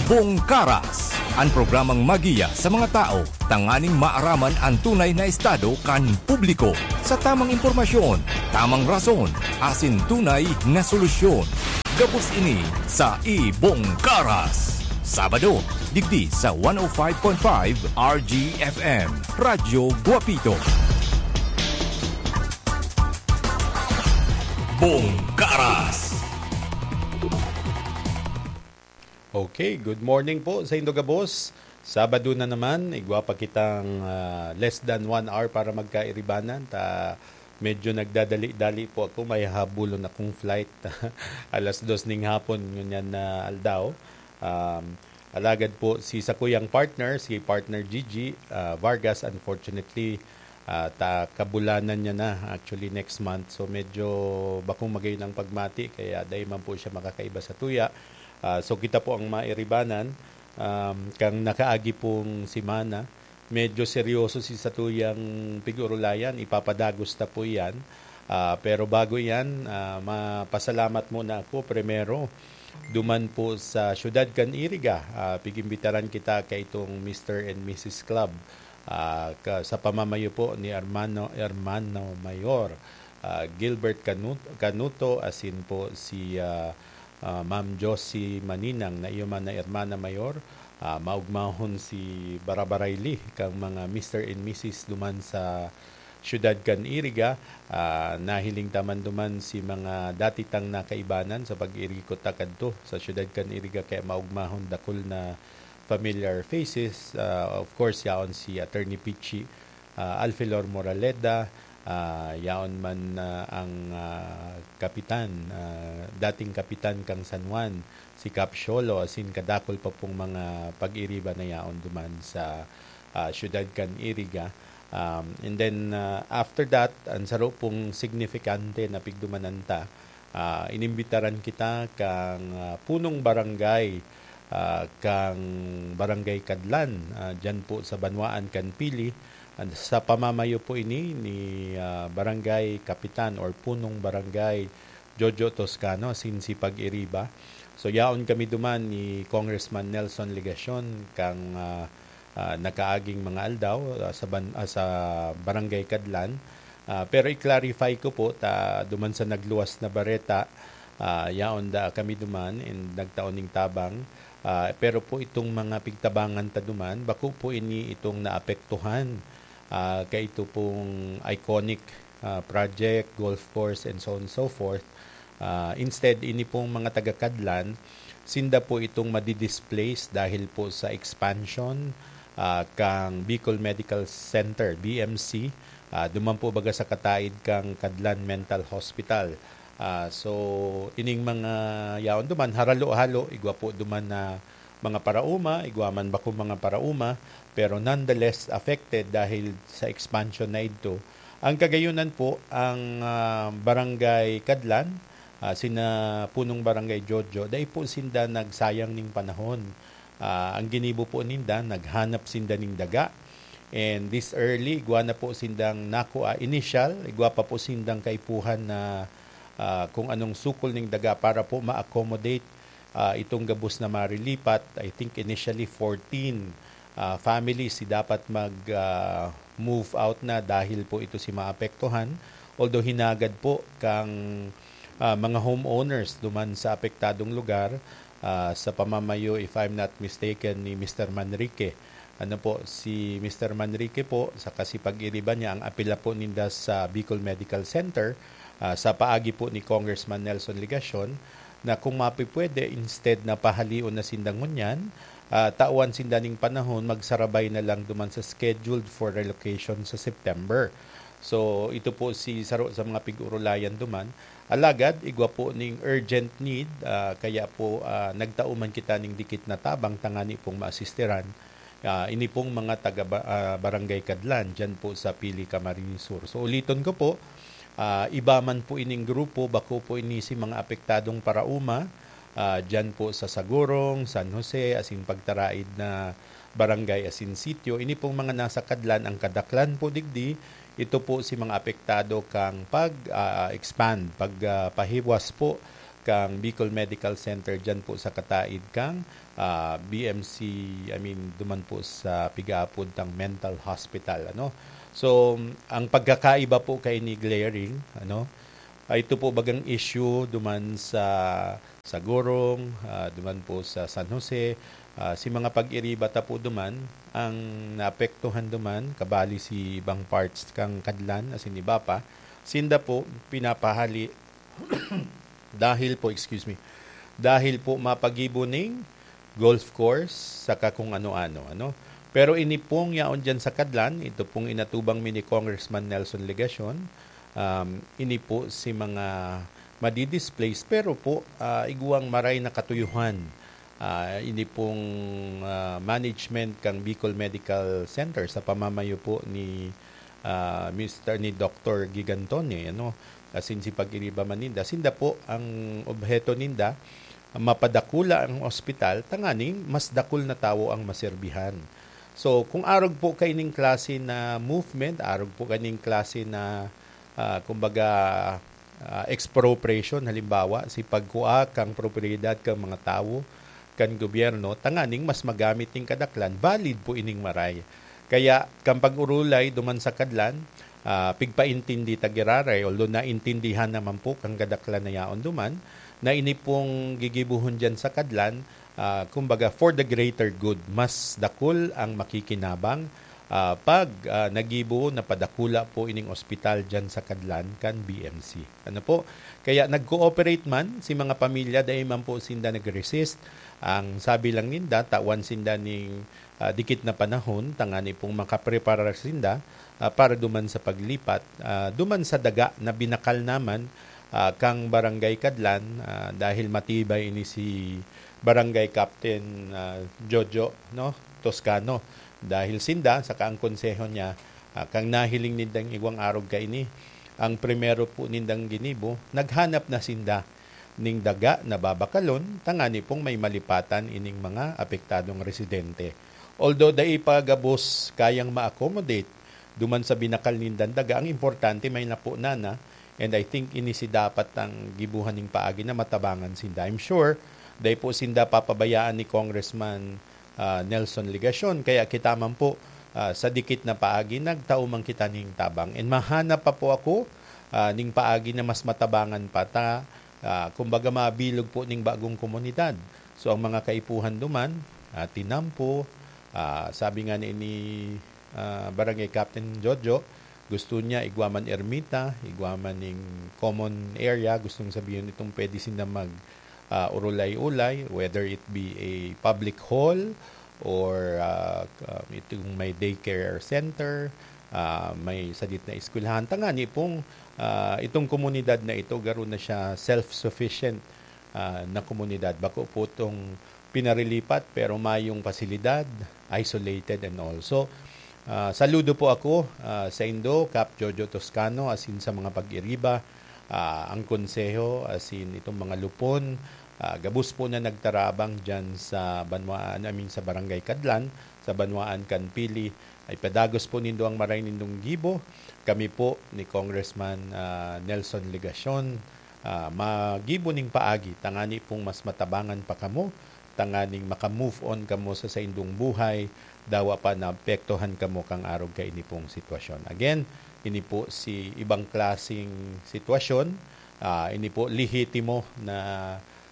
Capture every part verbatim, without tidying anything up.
Bongkaras, an programang magiya sa mga tao tanganing maaraman an tunay na estado kan publiko. Sa tamang impormasyon, tamang rason, asin tunay na solusyon. Gabos ini sa Ibongkaras. Sabado, digdi sa one oh five point five R G F M, Radyo Guapito. Bongkaras. Okay, good morning po sa indo gabos. Sabado na naman, igwa pa kitang, ah, less than one hour para magkairibanan. Ta, medyo nagdadali-dali po ako, may habulon akong flight alas dos ning hapon ngunyan na aldaw. Um, alagad po si sakuyang partner, si partner Gigi, ah, Vargas, unfortunately, ah, ta kabulanan niya na, actually, next month. So, medyo bakong magayon ang pagmati, kaya dai man po siya makakaiba sa tuya. Ah, so, kita po ang mairibanan, um, kang nakaagi pong semana. Medyo seryoso si satuyang pig-urulayan, ipapadagos ta po iyan. Ah, pero bago iyan, ah, mapasalamat muna ako primero duman po sa siyudad kan Iriga. Ah, pigimbitaran kita kaitong Mister and Missus Club, ah, ka, sa pamamayo po ni Hermano, Hermano Mayor, ah, Gilbert Canu-, Canuto, asin po si, ah, ah, Ma'am Josie Maninang, na iyo man na Hermana Mayor. Ah, maugmahon si Barabarayli kang mga Mister and Missus duman sa siyudad kan Iriga. Ah, nahiling ta man duman si mga dati tang nakaibanan sa pag-irikot ta kadto sa siyudad kan Iriga, kaya maugmahon dakul na familiar faces. Ah, of course, yaon si Attorney Pichi, ah, Alfelor Moraleda, ah, yaon man, ah, ang, ah, kapitan, ah, dating kapitan kang San Juan, si Cap Sholo, asin kadakul pa pong mga pag-iriba na yaon duman sa, ah, siyudad kan Iriga. Um, and then, ah, after that, ang saro pong signifikante na pigdumanan ta, ah, inimbitaran kita kang, ah, punong barangay, ah, kang Barangay Kadlan, ah, diyan po sa Banwaan kan Pili, and sa pamamayo po ini ni, ah, Barangay Kapitan or Punong Barangay Jojo Toscano, asin si Pag-iriba. So, yaon kami duman ni Congressman Nelson Legacion kang, ah, ah, nakaaging mga aldaw, ah, sa ban-, ah, sa Barangay Kadlan. Ah, pero i-clarify ko po, ta duman sa nagluwas na bareta, ah, yaon da kami duman and nagtao ning tabang. Ah, pero po itong mga pigtabangan ta duman, bako po ini itong naapektuhan, ah, kaito pong iconic, ah, project, golf course, and so on and so forth. Ah, instead, ini pong mga taga-Kadlan, sinda po itong madi-displace dahil po sa expansion, ah, kang Bicol Medical Center, B M C. Ah, duman po baga sa kataid kang Kadlan Mental Hospital. Ah, so, ining mga yaon duman, haralo-halo, igwa po duman na mga paraoma, igwa man bakong mga paraoma, pero nonetheless affected dahil sa expansion na idto. Ang kagayunan po, ang, ah, Barangay Kadlan, ah, sina Punong Barangay Jojo, dai po sinda nagsayang ning panahon. Ah, ang ginibo po ninda, naghanap sinda ning daga. And this early, igwa na po sindang nakua initial, igwa pa po sindang kaipuhan na, ah, kung anong sukol ning daga para po ma-accommodate, ah, itong gabos na marilipat. I think initially fourteen, ah, families si dapat mag, ah, move out na dahil po ito si maapektuhan. Although hinagad po kang, ah, mga homeowners duman sa apektadong lugar, ah, sa pamamayo, if I'm not mistaken, ni Mister Manrique. Ano po, si Mister Manrique po, sa kasipag-iriba niya, ang apela po ninda sa Bicol Medical Center, ah, sa paagi po ni Congressman Nelson Legacion, na kung mapipwede, instead na pahalion na sinda ngunyan, ah, tawan sinda ning panahon, magsarabay na lang duman sa scheduled for relocation sa September. So, ito po si saro sa mga pig-urulayan duman. Alagad, igwa po ning urgent need, ah, kaya po, ah, nagtao man kita ning dikit na tabang tangani pong maasistiran, ah, ini pong mga taga ba-, ah, Barangay Kadlan, diyan po sa Pili, Camarines Sur. So, uliton ko po, ah, iba man po ining grupo, bako po ini si mga apektadong paraoma, ah, diyan po sa Sagurong, San Jose, asin pagtaraid na barangay asin sitio. Ini pong mga nasa Kadlan, ang kadaklan po digdi, ito po si mga apektado kang pag, ah, expand, pag, ah, pahiwas po kang Bicol Medical Center diyan po sa kataid kang, ah, B M C, I mean, duman po sa pigaapod tang mental hospital, ano. So, ang pagkakaiba po kay ni glaring, ano, ah, ito po bagang issue duman sa, sa Gurong, ah, duman po sa San Jose, ah, si mga pag-iriba ta po duman, ang naapektuhan duman, kabali si ibang parts kang Kadlan, asin iba pa, sinda po pinapahali dahil po, excuse me, dahil po mapagibo ning golf course, saka kung ano-ano, ano. Pero ini pong yaon diyan sa Kadlan, ito pong inatubang mi ni Congressman Nelson Legacion, um, ini po si mga madi-displace, pero po, ah, igwang maray na katuyuhan. Ah, ini pong, ah, management kang Bicol Medical Center sa pamamayo po ni, ah, Mister ni Doktor Gigantone, ano, asin si pag-iriba man ninda. Sinda po, ang obheto ninda, mapadakula ang ospital, tanganing mas dakul na tawo ang maserbihan. So, kung arog po kaining klase na movement, arog po kaining klase na, ah, kumbaga, ah, expropriation, halimbawa, si pagkua kang propiedad kang mga tawo, kan gobyerno, tanganing mas magamit ning kadaklan, valid po ining maray. Kaya, kan pag-urulay duman sa Kadlan, ah, pigpaintindi ta giraray, although naintindihan naman po kan kadaklan na yaon duman, na ini pong gigibohon diyan sa Kadlan, ah, kumbaga, for the greater good, mas dakul ang makikinabang, ah, pag, ah, nagibo, napadakula po ining ospital diyan sa Kadlan kan B M C. Ano po? Kaya nag-cooperate man si mga pamilya, dai man po sinda nag-resist. Ang sabi lang ninda, tawan sinda ning, ah, dikit na panahon, tangani pong makapreparar sinda, ah, para duman sa paglipat, ah, duman sa daga na binakal naman, ah, kang Barangay Kadlan, ah, dahil matibay ini si Barangay Captain, ah, Jojo, no, Toscano. Dahil sinda, saka ang konseho niya, ah, kang nahiling nindang igwang arog kaini, ang primero po nindang ginibo, naghanap na sinda ning daga na babakalon, tangani pong may malipatan ining mga apektadong residente. Although dai pa gabos kayang ma-accommodate duman sa binakal nindang daga, ang importante may napunan na, and I think ini si dapat ang gibuhan ning paagi na matabangan sinda. I'm sure, dai po sinda papabayaan ni Congressman, ah, Nelson Legacion. Kaya kita man po, ah, sa dikit na paagi, nagtao man kita ning tabang. And mahanap pa po ako, ah, ning paagi na mas matabangan pa ta, ah, kumbaga mabilog po ning bagong komunidad. So, ang mga kaipuhan duman, ah, tinampo, ah, sabi nga ni, ni, ah, Barangay Captain Jojo, gusto niya igwa man ermita, igwa man ning common area, gustong sabihin itong pwede sinda mag, ah, urulay-ulay, whether it be a public hall or, ah, ah, itong may daycare center, ah, may sadit na eskwelahan. Tangani pong, ah, itong komunidad na ito, garo na siya self-sufficient, ah, na komunidad. Bako po itong pinarilipat, pero mayong pasilidad, isolated and all. So, ah, saludo po ako, ah, sa indo, Cap Jojo Toscano, asin sa mga pag-iriba, ah, ang konseho, asin itong mga lupon, ah, gabos po na nagtarabang dyan sa banwaan, I mean, sa Barangay Kadlan, sa banwaan kan Pili. Ay padagos po nindo ang maray nindong gibo. Kami po ni Congressman, ah, Nelson Legacion, ah, magibo ning paagi, tangani pong mas matabangan pa kamo, tanganing maka-move on kamo sa saindong buhay, dawa pa naapektuhan kamo kang arog kaini pong sitwasyon. Again, ini po si ibang klaseng sitwasyon, ah, ini po lehitimo na,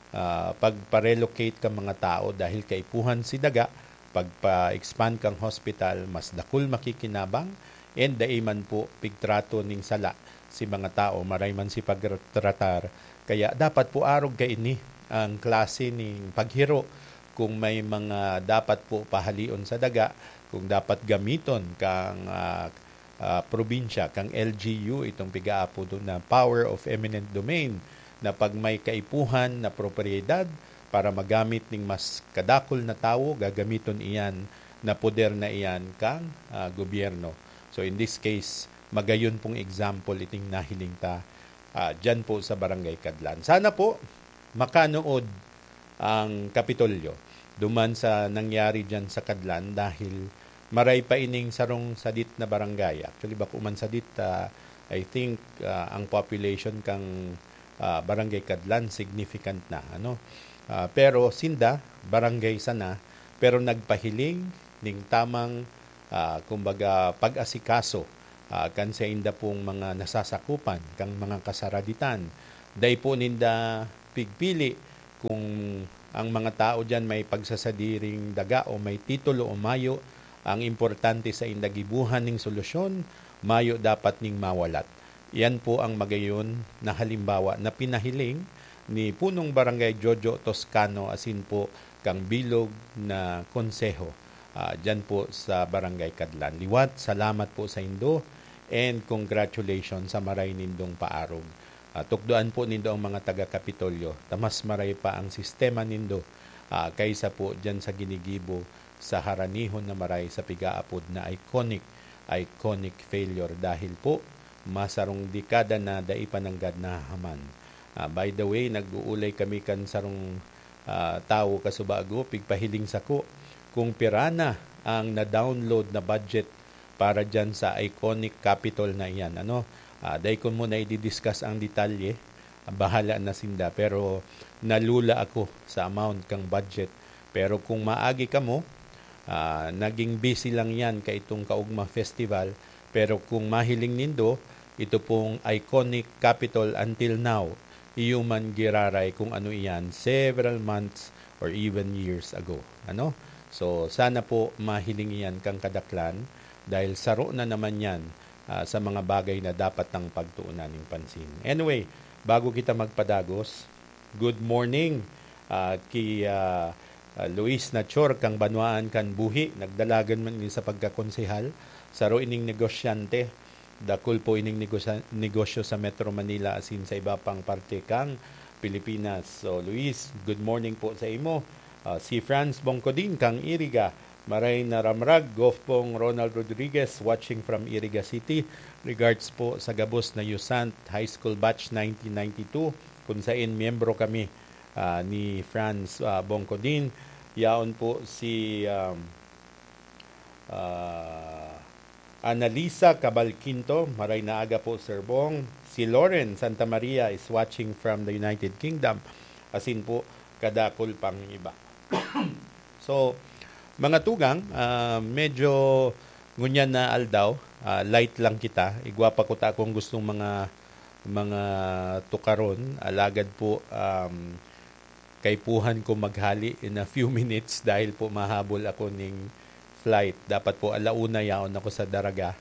ah, pagpa-relocate kan mga tao dahil kaipuhan si daga, pagpa-expand kan hospital, mas dakul makikinabang, and dai man po pigtrato ning sala si mga tao, maray man si pagtratar. Kaya dapat po arog kaini ang klase ning paghiro kung may mga dapat po pahalion sa daga, kung dapat gamiton kang, ah, ah, probinsya, kang L G U, itong pigaapod na power of eminent domain, na pag may kaipuhan na propiedad para magamit ning mas kadakul na tawo, gagamiton iyan na poder na iyan kang, ah, gobyerno. So, in this case, magayon pong example iting nahiling ta, ah, dyan po sa Barangay Kadlan. Sana po, makanood ang Kapitolyo duman sa nangyari dyan sa Kadlan dahil maray pa ining sarong sadit na barangay. Actually, bako man sadit, ah, I think, ah, ang population kang ah, Barangay Kadlan, significant na, ano. Ah, pero sinda, barangay sana, pero nagpahiling ning tamang, ah, kumbaga, pag-asikaso, ah, kan sainda pong mga nasasakupan, kang mga kasaraditan. Dai po ninda pigpili kung ang mga tao diyan may pagsasadiring daga o may titulo o mayo. Ang importante, sainda gibuhan ning solusyon, mayo dapat ning mawalat. Yan po ang magayon na halimbawa na pinahiling ni Punong Barangay Jojo Toscano asin po kang bilog na konseho, ah, dyan po sa Barangay Kadlan. Liwat, salamat po sa indo and congratulations sa maray nindong paarog. Ah, tukdoan po nindo ang mga taga Kapitolyo. Ta mas maray pa ang sistema nindo, ah, kaysa po dyan sa ginigibo sa haranihon na maray sa pigaapod na iconic, iconic failure dahil po masarong dekada na dai pa nanggad nahahaman. Ah, by the way, nag-uulay kami kan sarong, ah, tawo kasubago, pigpahiling sako kung pira na ang na-download na budget para dyan sa iconic Capitol na iyan. Ano, ah, dai ko muna i-discuss ang detalye, bahala na sinda, pero nalula ako sa amount kang budget. Pero kung maagi kamo, ah, naging busy lang yan kaitong Kaugma Festival. Pero kung mahiling nindo, ito pong iconic Capitol until now, iyo man giraray kung ano iyan several months or even years ago. Ano? So, sana po mahiling iyan kang kadaklan dahil saro na naman yan, ah, sa mga bagay na dapat nang pagtuunan ning pansin. Anyway, bago kita magpadagos, good morning, ah, ki, ah, ah, Luis Nachor kang banwaan kan buhi. Nagdalagan man ini sa pagkakonsehal. Saro ining negosyante. Dakul po ining negosya-, negosyo sa Metro Manila asin sa iba pang parte kang Pilipinas. So, Luis, good morning po sa imo. Ah, si Franz Bongcodin kang Iriga, maray na ramrag, Gof Pong Ronald Rodriguez, watching from Iriga City. Regards po sa gabos na Yusant High School Batch nineteen ninety-two, kun sain miyembro kami, ah, ni Franz, ah, Bongcodin. Yaon po si, um, ah, Annalisa Cabal Quinto, maray na aga po, Sir Bong. Si Lauren Santa Maria is watching from the United Kingdom. Asin po, kadakul pang iba. So, mga tugang, ah, medyo ngunyan na aldaw, ah, light lang kita. Igwa pa ko ta akong gustong mga, mga tukaron. Alagad po, um, kaipuhan ko maghali in a few minutes dahil po mahabol ako ning flight. Dapat po ala una yaon ako sa Daraga.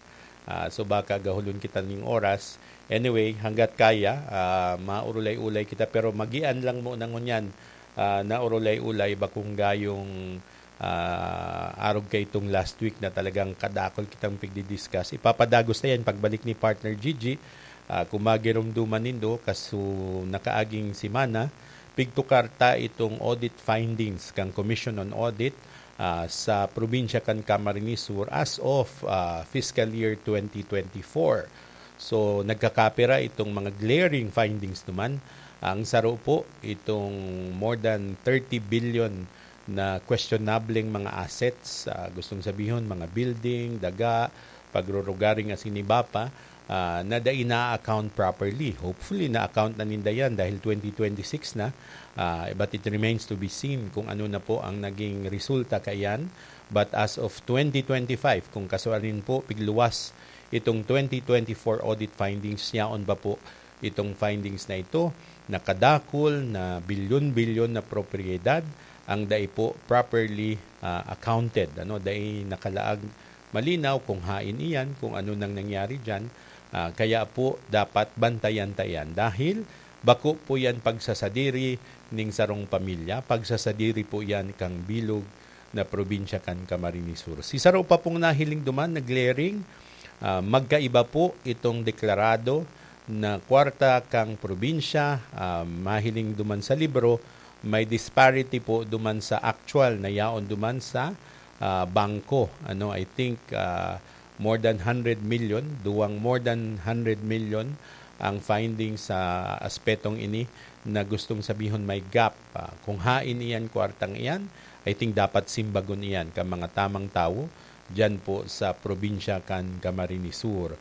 Ah, so baka gahulon kita ning oras. Anyway, hanggat kaya, ah, maurulay-ulay kita, pero magian lang mo na ngunyan, ah, na urulay-ulay, bakong gayong, ah, arog kaitong last week na talagang kadakol kitang pigdi-discuss. Ipapadagos ta yan pagbalik ni Partner Gigi. Ah, kung magirumduman nindo, kaso nakaaging semana, pigtukar ta itong audit findings kan Commission on Audit, ah, sa probinsya kan Camarines Sur as of, ah, fiscal year twenty twenty-four. So, nagkakapira itong mga glaring findings naman. Ang saro po, itong more than thirty billion na questionableng mga assets, ah, gustong sabihon, mga building, daga, pagrurugaring asin iba pa, ah, na dai na-account properly. Hopefully, na-account na ninda yan dahil twenty twenty-six na, ah, but it remains to be seen kung ano na po ang naging resulta kaiyan. But as of twenty twenty-five, kung kasuarin po, pigluwas itong twenty twenty-four audit findings, yaon pa po itong findings na ito, nakadakul na bilyon-bilyon na propiedad ang dai po properly, ah, accounted, ano, dai nakalaag malinaw kung hain iyan, kung ano nang nangyari diyan. Ah, kaya po dapat bantayan ta iyan dahil bako po yan pagsasadiri ning sarong pamilya, pagsasadiri po yan kang bilog na probinsya kan Camarines Sur. Si saro pa pong nahiling duman na glaring, ah, magkaiba po itong deklarado na kwarta kang probinsya, ah, mahiling duman sa libro, may disparity po duman sa actual na yaon duman sa, ah, bangko. Ano, I think, ah, more than hundred million, duwang more than hundred million ang findings sa aspetong ini na gustong sabihon may gap. Ah, kung hain iyan kwartang iyan, I think dapat simbagon iyan kan mga tamang tawo diyan po sa probinsya kan Camarines Sur.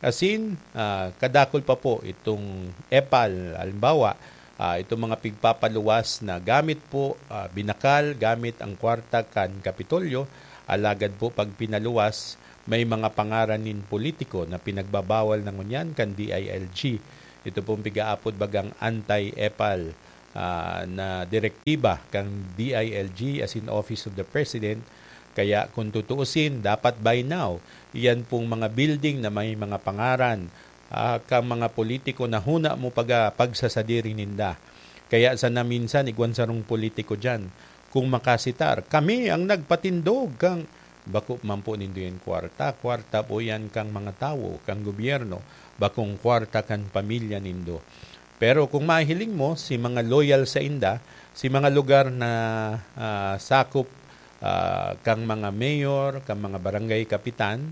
Asin, ah, kadakul pa po itong epal, halimbawa, ah, itong mga pigpapaluwas na gamit po, ah, binakal, gamit ang kwarta kan Kapitolyo, alagad po pag pinaluwas, may mga pangaran nin politiko na pinagbabawal na ngunyan kan D I L G. Ito pong pigaapod bagang anti-epal, ah, na direktiba kan D I L G, as in Office of the President. Kaya kung tutuusin, dapat by now, iyan pong mga building na may mga pangaran, ah, kan mga politiko na huna mo paga pagsasadiri ninda. Kaya sana minsan, igwan sarong politiko diyan, kung makasitar, "Kami ang nagpatindog kang," bako man po nindo yan kwarta. Kwarta po yan kang mga tawo, kang gobyerno, bakong kwarta kan pamilya nindo. Pero kung mahiling mo, si mga loyal sa inda, si mga lugar na, ah, sakop, ah, kang mga mayor, kang mga barangay kapitan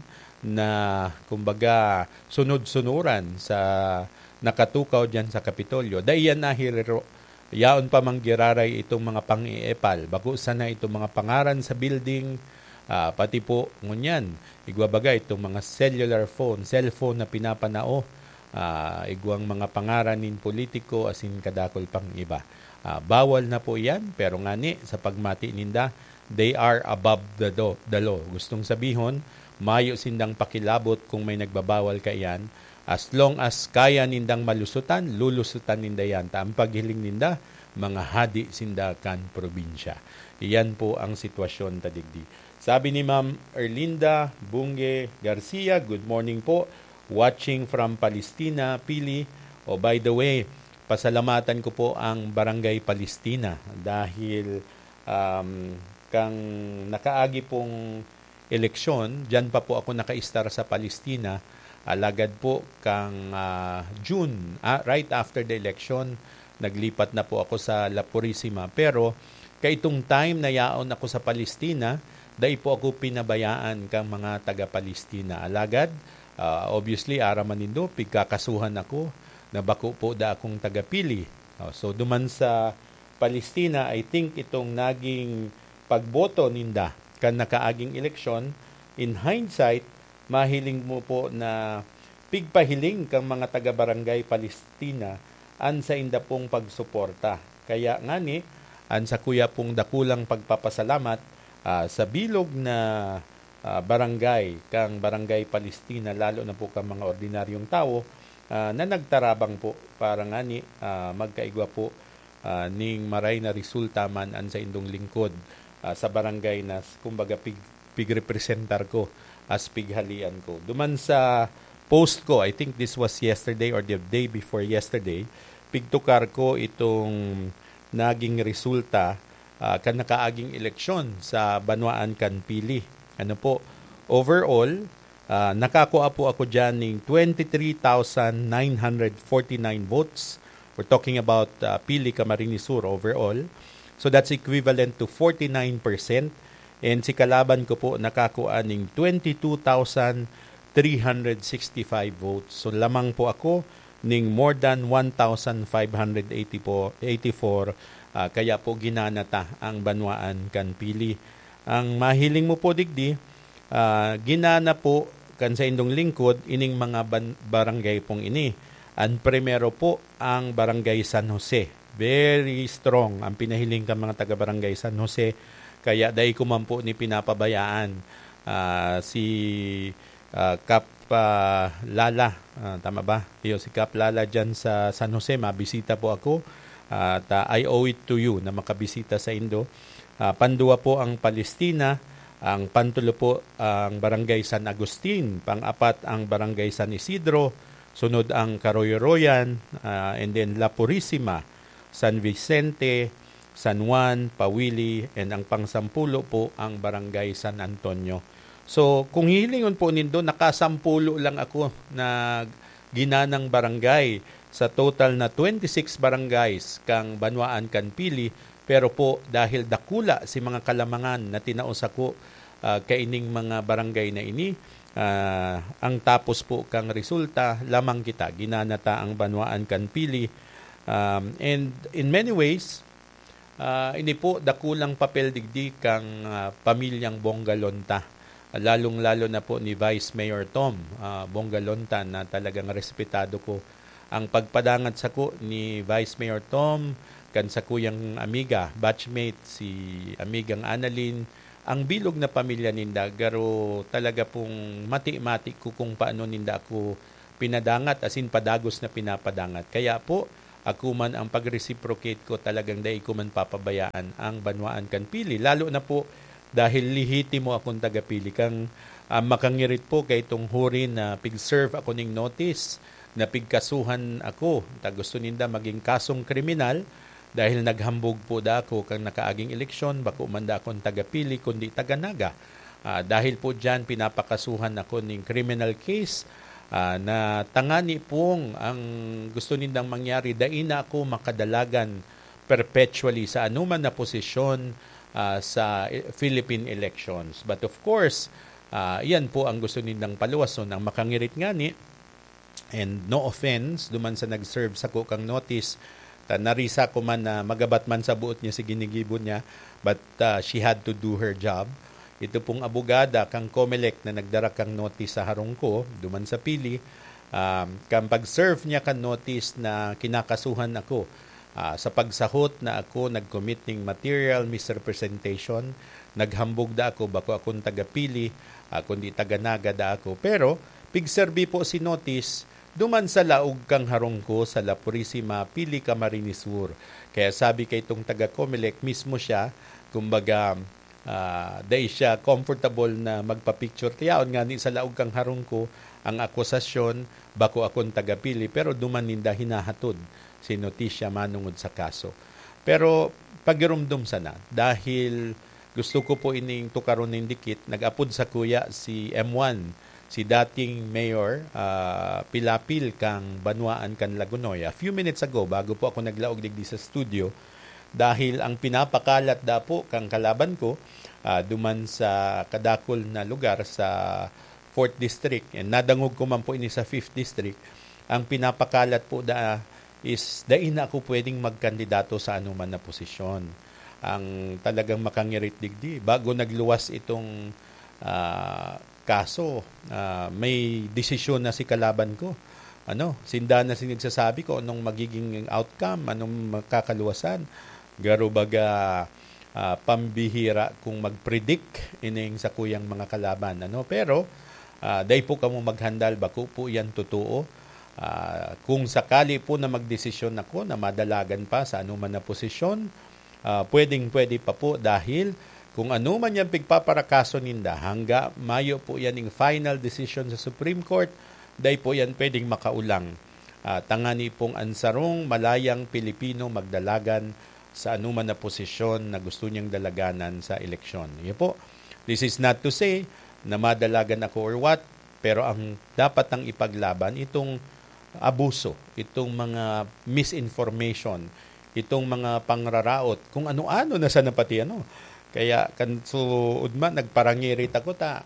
na, kumbaga, sunod-sunuran sa nakatukaw diyan sa Kapitolyo, dai yan nahiriro. Yaon pa manggiraray itong mga pang-iepal. Bako sana itong mga pangaran sa building, ah, pati po ngunyan, igwa baga itong mga cellular phone, cellphone na pinapanao, ah, igwang mga pangaran nin politiko asin kadakul pang iba. Ah, bawal na po iyan, pero ngani, sa pagmati ninda, they are above the do-, the law. Gustong sabihon, mayo sindang pakilabot kung may nagbabawal kaiyan. As long as kaya nindang malusutan, lulusutan ninda yan. Ta ang paghiling ninda, mga hadi sinda kan probinsya. Iyan po ang sitwasyon ta digdi. Sabi ni Ma'am Erlinda Bunge Garcia, "Good morning po. Watching from Palestina, Pili." Oh, by the way, pasalamatan ko po ang Barangay Palestina dahil, um, kang nakaagi pong eleksyon, diyan pa po ako nakaistar sa Palestina. Alagad po kang, ah, June, ah, right after the election, naglipat na po ako sa La Purisima. Pero kaitong time na yaon ako sa Palestina, dai po ako pinabayaan kang mga taga-Palestina. Alagad, ah, obviously, aram man nindo, pigkakasuhan ako na bako po da akong taga-Pili. Oh, so, duman sa Palestina, I think itong naging pagboto ninda kan nakaaging eleksyon, in hindsight, mahiling mo po na pigpahiling kang mga taga-Barangay Palestina an sainda pong pagsuporta. Kaya ngani, an sakuya pong dakulang pagpapasalamat, ah, sa bilog na, ah, barangay, kang Barangay Palestina, lalo na po kang mga ordinaryong tawo, ah, na nagtarabang po para ngani, ah, magkaigwa po, ah, ning maray na resulta man an saindong lingkod, ah, sa barangay na s-, kumbaga pig-, pigrepresentar ko as pighalian ko. Duman sa post ko, I think this was yesterday or the day before yesterday, pigtukar ko itong naging resulta, ah, kan nakaaging eleksyon sa banwaan kan Pili. Ano po, overall, ah, nakakua po ako diyan ning twenty-three thousand nine hundred forty-nine votes. We're talking about, ah, Pili, Camarines Sur overall. So that's equivalent to forty-nine percent. And si kalaban ko po nakakua ning twenty-two thousand three hundred sixty-five votes. So lamang po ako ning more than one thousand five hundred eighty po, eighty-four, ah, kaya po ginana ta ang banwaan kan Pili. Ang mahiling mo po digdi, ah, ginana po kan saindong lingkod ining mga ban-, barangay pong ini. An primero po ang Barangay San Jose. Very strong ang pinahiling kan mga taga Barangay San Jose, kaya dai ko man po ni pinapabayaan, ah, si, ah, Kap, ah, Lala, ah, tama ba? Iyo, si Kap Lala diyan sa San Jose, mabisita po ako. At, ah, I owe it to you na makabisita saindo. Ah, panduwa po ang Palestina, ang pantulo po ang Barangay San Agustin, pang-apat ang Barangay San Isidro, sunod ang Karoyoroyan, ah, and then La Purisima, San Vicente, San Juan, Pawili, and ang pangsampulo po ang Barangay San Antonio. So, kung hihilingon po nindo, nakasampulo lang ako na ginanang barangay sa total na twenty-six barangays kang banwaan kan Pili, pero po dahil dakula si mga kalamangan na tinao sako, ah, kaining mga barangay na ini, ah, ang tapos po kang resulta, lamang kita, ginana ta ang banwaan kan Pili. Um, and in many ways, ah, ini po dakulang papel digdi kang, ah, pamilyang Bongalonta. lalong-lalo na po ni Vice Mayor Tom, ah, Bongalontan, na talagang respetado ko. Ang pagpadangat sako ni Vice Mayor Tom, kan sakuyang amiga, batchmate, si amigang Annalyn, ang bilog na pamilya ninda, garo talaga pong mati-mati ko kung paano ninda ako pinadangat, as in padagos na pinapadangat. Kaya po, ako man ang pag-reciprocate ko, talagang dai ko man papabayaan ang banwaan kan Pili. Lalo na po dahil lehitimo akong taga-Pili. Kang, ah, makangirit po kay itong huri na pig-serve ako ning notice na pigkasuhan ako. Ta gusto ninda maging kasong kriminal dahil naghambog po da ako kang nakaaging eleksyon, bako man da akong taga-Pili, kundi taga-Naga. Ah, dahil po diyan, pinapakasuhan ako ning criminal case, ah, na tangani pong ang gusto nindang mangyari, dai na ako makadalagan perpetually sa anuman na posisyon, ah, sa e-, Philippine elections. But of course, ah, iyan po ang gusto nindang paluwason. Ang makangirit ngani, and no offense, duman sa nag-serve sako kang notice, ta narisa ko man na magabat man sa boot niya si ginigibo niya, but, ah, she had to do her job. Ito pong abogada kang Comelec na nagdara kang notice sa harong ko, duman sa Pili, um, kan pag-serve niya kan notice na kinakasuhan ako, ah, sa pagsahot na ako nag-commit ning material misrepresentation, naghambog da ako, bako akong taga-Pili, ah, kundi taga-Naga da ako. Pero, pigserbi po si notice, duman sa laog kang harong ko sa La Purisima, Pili, Camarines Sur. Kaya sabi kay itong taga-Comelec, mismo siya, kumbaga, ah, dai siya comfortable na magpa-picture. Kaya on nga ni sa laog kang harong ko, ang akusasyon, bako akong taga-Pili, pero duman ninda hinahatod si notisya manungod sa kaso. Pero pagirumdom sana, dahil gusto ko po ining tukaron nin dikit, nag-apod sakuya si M one, si dating Mayor, ah, Pilapil kang Banwaan kan Lagonoy. A few minutes ago, bago po ako naglaog digdi sa studio, dahil ang pinapakalat da po kang kalaban ko, ah, duman sa kadakul na lugar sa fourth District, and nadangog ko man po ini sa fifth District, ang pinapakalat po da is dai na ako pwedeng magkandidato sa anuman na posisyon. Ang talagang makangirit digdi, bago nagluwas itong, ah, kaso, ah, may desisyon na si kalaban ko. Ano, sinda na si nagsasabi kung anong magiging outcome, anong makakaluwasan. Garo baga, ah, pambihira kung mag-predict ining sakuyang mga kalaban, ano. Pero, ah, dai po kamo maghandal, bako po yan totoo. Ah, kung sakali po na magdesisyon ako na madalagan pa sa anuman na posisyon, ah, pwedeng-pwede pa po dahil kung ano man yang pigpaparakaso ninda, hangga mayo po yan ning final decision sa Supreme Court, dai po yan pwedeng makaulang. Ah, tangani pong an sarong malayang Pilipino magdalagan sa anuman na posisyon na gusto niyang dalaganan sa eleksyon. Iyo po, this is not to say na madalagan ako or what, pero ang dapat nang ipaglaban itong abuso, itong mga misinformation, itong mga pangraraot, kung ano-ano na sana pati ano. Kaya kan suod man, nagparangirit ako ta,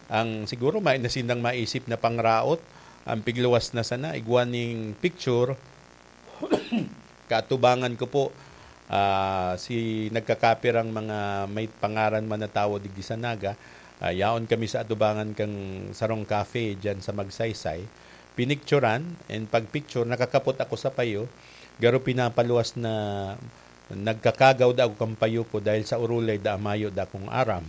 ang siguro may nasindang maisip na pangraot, ang pigluwas na sana, igwa ning picture, kaatubangan ko po, ah, si nagkakapirang mga may pangaran man na tawo digdi sa Naga, ah, yaon kami sa atubangan kang sarong cafe diyan sa Magsaysay. Pinicturan, and pag picture, nakakapot ako sa payo, garo pinapaluwas na nagkakagaw da ako kan payo ko dahil sa urulay da mayo da akong aram.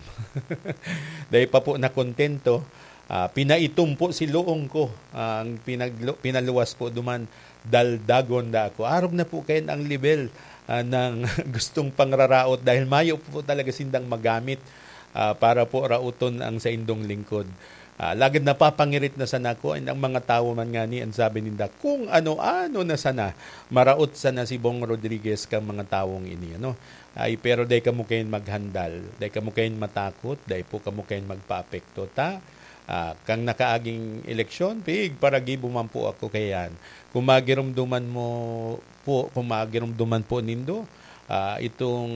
Dai pa po nakontento, ah, pinaitom po si luong ko, ah, ang pinaglu-, pinaluwas po duman, daldagon da ako. Arog na po kayan ang level, ah, ng gustong pangraraot dahil mayo po talaga sindang magamit, ah, para po raoton ang saindong lingkod. Ah, lagad napapangirit na sana ako, and ang mga tawo man ngani, ang sabi ninda, kung ano-ano na sana, maraot sana si Bong Rodriguez kang mga tawong ini, ano? Ay, pero dai kamo kayan maghandal, dai kamo kayan matakot, dai po kamo kayan magpaapekto. Ta, ah, kang nakaaging eleksyon, pig, paragibo man po ako kayan. Kung magirumduman mo po, kung magirumduman po nindo, ah, itong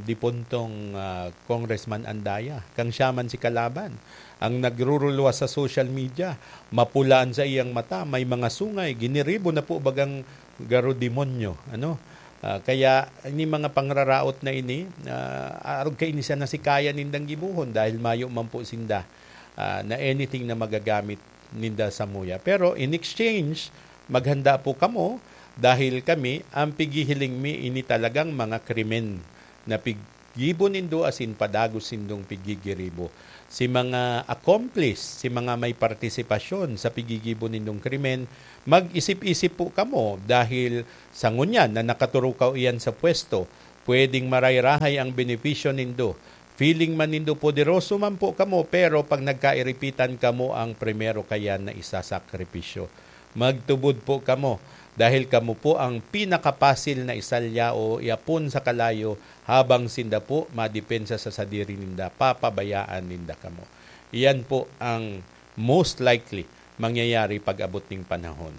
dipuntong, ah, Congressman Andaya, kang siya man si kalaban, ang nagruruluwas sa social media, mapula an saiyang mata, may mga sungay, giniribo na po bagang garo demonyo, ano? Ah, kaya ini mga pangraraot na ini, ah, arog kaini sana si kaya nindang gibohon dahil mayo man po sinda, ah, na anything na magagamit ninda samuya. Pero in exchange, maghanda po kamo dahil kami, ang pighihiling mi, ini talagang mga krimen na piggibo nindo asin padagos nindong pigigiribo. Si mga accomplice, si mga may partisipasyon sa piggigibo nindong krimen, mag-isip-isip po kamo dahil sa ngunyan na nakaturukaw iyan sa pwesto, pwedeng maray-rahay ang benepisyo nindo. Feeling man nindo poderoso man po kamo, pero pag nagkairipitan, kamo ang primero kayan na isasakripisyo. Magtubod po kamo, dahil kamo po ang pinakapasil na isalya o iapon sa kalayo, habang sinda po madepensa sa sadiri ninda, papabayaan ninda kamo. Iyan po ang most likely mangyayari pag-abot ning panahon.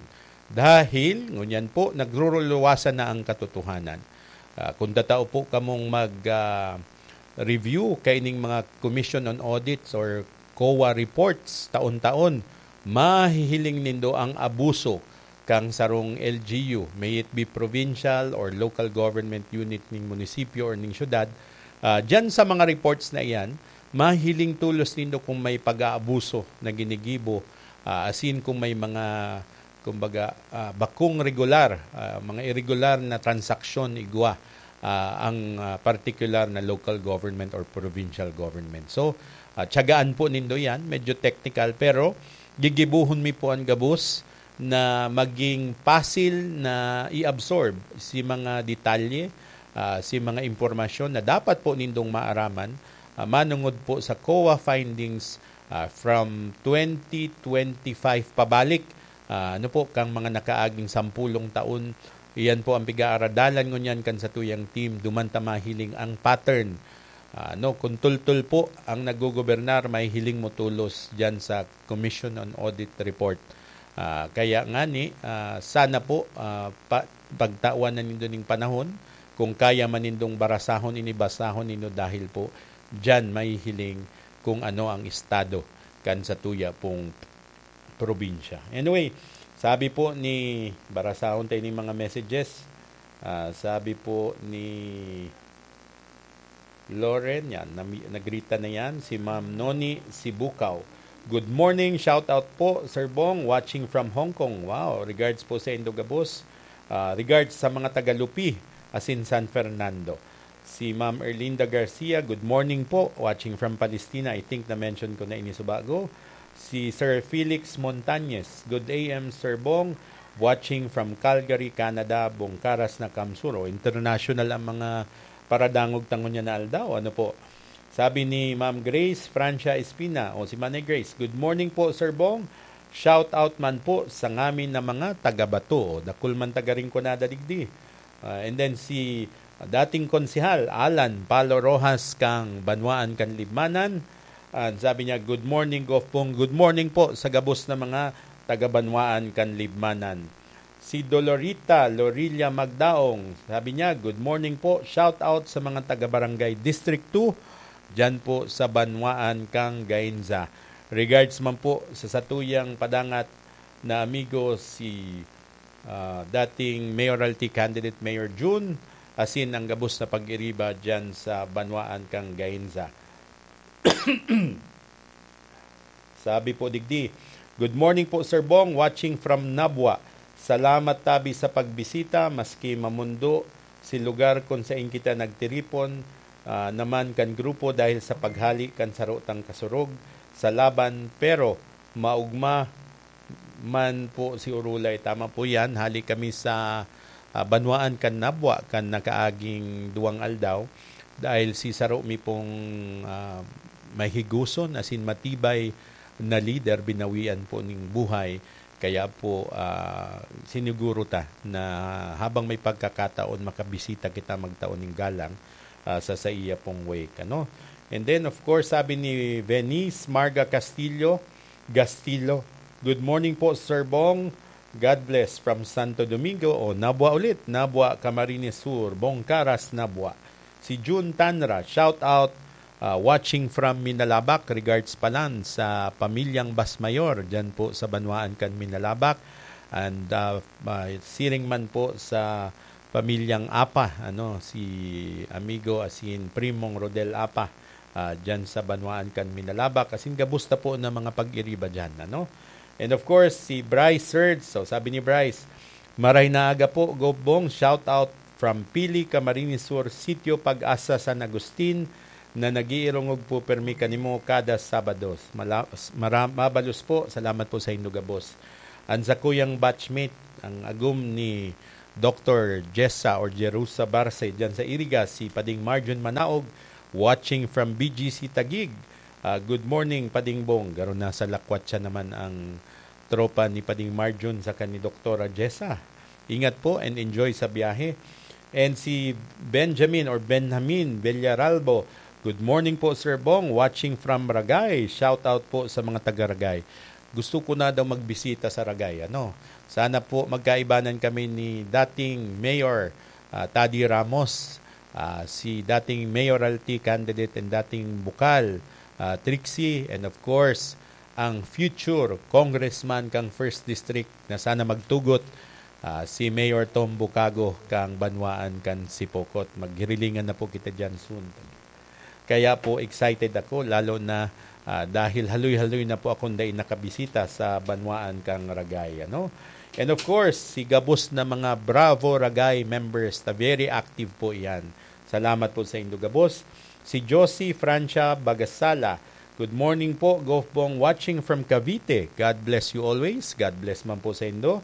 Dahil, ngunyan po, nagruruluwasan na ang katotohanan. Ah, kung tatao po kamong mag, ah, review kaining mga Commission on Audits or COA reports taon-taon, mahihiling nindo ang abuso kan sarong L G U, may it be provincial or local government unit ning munisipyo or ning syudad. Ah, diyan sa mga reports na iyan, mahiling tolos nindo kung may pag-aabuso na ginigibo, ah, asin kung may mga, kumbaga, ah, bakong regular, ah, mga irregular na transaksyon igwa, ah, ang, ah, partikular na local government or provincial government. So, ah, tiyagaan po nindo yan. Medyo technical, pero gigibuhon mi po an gabos na maging pasil na i-absorb si mga detalye, ah, si mga impormasyon na dapat po nindong maaraman, ah, manungod po sa COA findings, ah, from twenty twenty-five pabalik. Ah, ano po, kang mga nakaaging sampulong taon, iyan po ang pigaaradalan ngunyan kan satuyang team. Duman ta mahiling ang pattern. Ah, no, kung tultol po ang naggogobernar, mahihiling mo tolos diyan sa Commission on Audit Report. Ah, kaya ngani, ah, sana po, ah, pa-, pagtawan na nindo ning panahon. Kung kaya man nindong barasahon, ini basahon nindo dahil po diyan mahihiling kung ano ang estado kan satuya pong probinsya. Anyway, sabi po ni, barasahon tayo ning mga messages. Ah, sabi po ni Loren, yan, nami-, nagrita na yan, si Ma'am Noni Sibukaw. "Good morning, shout out po, Sir Bong, watching from Hong Kong." Wow, regards po sa indo gabos. Ah, regards sa mga taga Lupi, asin San Fernando. Si Ma'am Erlinda Garcia, "Good morning po, watching from Palestina." I think na-mention ko na ini subago. Si Sir Felix Montañez, "Good A M, Sir Bong, watching from Calgary, Canada, Bongkaras na Kamsuro." International ang mga paradangog ta ngunyan na aldaw. Ano po? Sabi ni Ma'am Grace Francia Espina, o si Manay Grace, "Good morning po, Sir Bong. Shout out man po sa ngamin na mga taga-Bato." O, dakul man taga Rinconada digdi. Ah, and then si dating konsehal, Alan Palo Rojas, kang Banwaan kan Libmanan. And sabi niya, "Good morning, Gof Bong. Good morning po sa gabos na mga taga-Banwaan kan Libmanan." Si Dolorita Lorilla Magdaong, sabi niya, "Good morning po. Shout out sa mga taga-Barangay District two, dyan po sa Banwaan kang Gainza." Regards man po sa satuyang padangat na amigo, si, ah, dating mayoralty candidate Mayor Jun, asin ang gabos na pag-iriba dyan sa Banwaan kang Gainza. Sabi po digdi, "Good morning po, Sir Bong, watching from Nabua. Salamat tabi sa pagbisita, maski mamundo si lugar kun sain kita nagtiripon, ah, naman kan grupo dahil sa paghali kan sarotang kasurog sa laban, pero maugma man po si Urulay." Tama po yan, hali kami sa, ah, Banwaan kan Nabua kan nakaaging duwang aldaw, dahil si saro mi pong, ah, mahigoson asin matibay na lider, binawian po ning buhay. Kaya po, ah, siniguro ta na habang may pagkakataon, makabisita kita, magtao ning galang, ah, sa saiya pong wake, ano? And then, of course, sabi ni Venice Marga Castillo, Gastillo, "Good morning po, Sir Bong. God bless from Santo Domingo." O, Nabua ulit. Nabua, Camarines Sur. Bongkaras, Nabua. Si June Tanra, shout out, ah, watching from Minalabac. Regards palan sa pamilyang Basmayor, dyan po sa Banwaan kan Minalabac. And, ah, ah, siring man po sa pamilyang Apa, ano, si amigo asin primong Rodel Apa, ah, diyan sa banwaan kan Minalabac, asin gabos ta po na mga pag-iriba diyan, ano. And of course, si Bryce Herds. So, sabi ni Bryce, "Maray na aga po, Gov Bong. Shout out from Pili, Camarines Sur, Sitio Pag-asa, San Agustin, na nag-iirongog po permi kanimo kada Sabado. Mala-, mara-, mabalos po. Salamat po sa indo gabos." An sakuyang batchmate, ang agom ni Doktor Jessa or Jerusa Barce diyan sa Iriga, si Pading Marjon Manaog, watching from B G C Taguig. Ah, good morning, Pading Bong. Garo na sa lakwat siya naman ang tropa ni Pading Marjon saka ni Doktora Jessa. Ingat po and enjoy sa biyahe. And si Benjamin or Benjamin Villaralbo, "Good morning po, Sir Bong. Watching from Ragay. Shout out po sa mga taga Ragay." Gusto ko na daw magbisita sa Ragay, ano? Sana po magkaibanan kami ni dating Mayor, ah, Taddy Ramos, ah, si dating mayoralty candidate and dating bukal, ah, Trixie, and of course, ang future congressman kang First District na sana magtugot, ah, si Mayor Tom Bukago kang banwaan kan Sipocot. Maghirilingan na po kita diyan soon. Kaya po excited ako, lalo na, ah, dahil haloy-haloy na po akong dai nakabisita sa banwaan kang Ragay, ano? And of course, si gabos na mga Bravo Ragay members na very active po iyan. Salamat po sa indo gabos. Si Josie Francia Bagasala, "Good morning po, Gov Bong, watching from Cavite. God bless you always." God bless man po sa indo.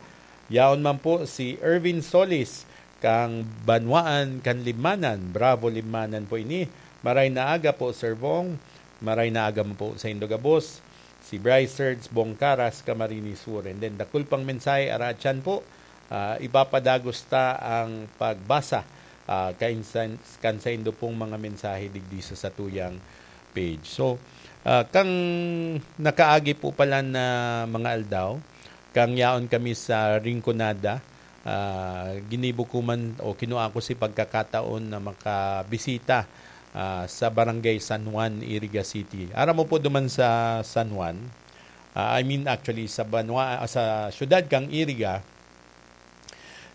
Yaon man po si Ervin Solis, kang banwaan kan Libmanan. Bravo, Libmanan po ini. Maray na aga po, Sir Bong. Maray na aga man po sa indo gabos. Si Bryce Serge Bongkaras, Camarines Sur. And then, dakul pang mensahe, araatyan po. Ah, ipapadagos ta ang pagbasa, ah, kainsan-, kan saindo pong mga mensahe digdi sa satuyang page. So, ah, kang nakaagi po pala na mga aldaw, kang yaon kami sa Rinconada, ah, ginibo ko man o kinua ko si pagkakataon na makabisita, ah, sa Barangay San Juan, Iriga City. Aram mo po duman sa San Juan, ah, I mean, actually, sa banwa-, ah, sa siyudad kang Iriga,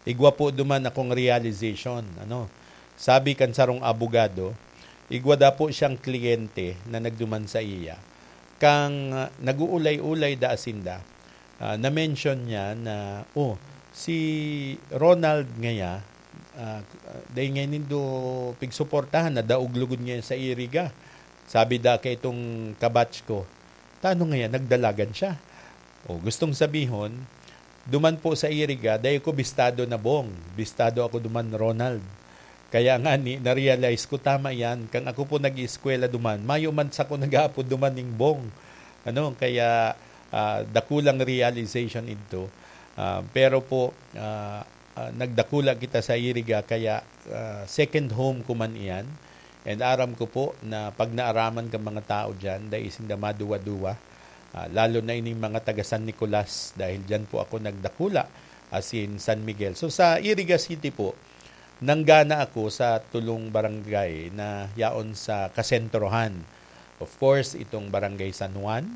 igwa po duman akong realization, ano. Sabi kan sarong abogado, igwa da po siyang kliyente na nagduman sa iya. Kang, ah, nag-uulay-ulay da asinda, ah, na-mention niya na, "Oh, si Ronald ngaya, ah, dai ngaya nindo pigsuportahan, nadaog lugod ngaya sa Iriga." Sabi da kaitong kabatch ko, "Tano ngaya, nagdalagan siya?" O, gustong sabihon, duman po sa Iriga, dai ko bistado na Bong. Bistado ako duman, Ronald. Kaya ngani, na-realize ko, tama yan. Kang ako po nag-ieskwela duman, mayo man sako nag-aapod duman ning Bong. Ano, kaya, ah, dakulang realization ito. Ah, pero po, ah, ah, nagdakula kita sa Iriga, kaya, ah, second home ko man iyan. And aram ko po na pag naaraman kan mga tao diyan, dai sinda maduwa-duwa, ah, lalo na ining mga taga San Nicolas, dahil diyan po ako nagdakula, as in San Miguel. So, sa Iriga City po, nanggana ako sa tulong barangay na yaon sa kasentrohan. Of course, itong Barangay San Juan,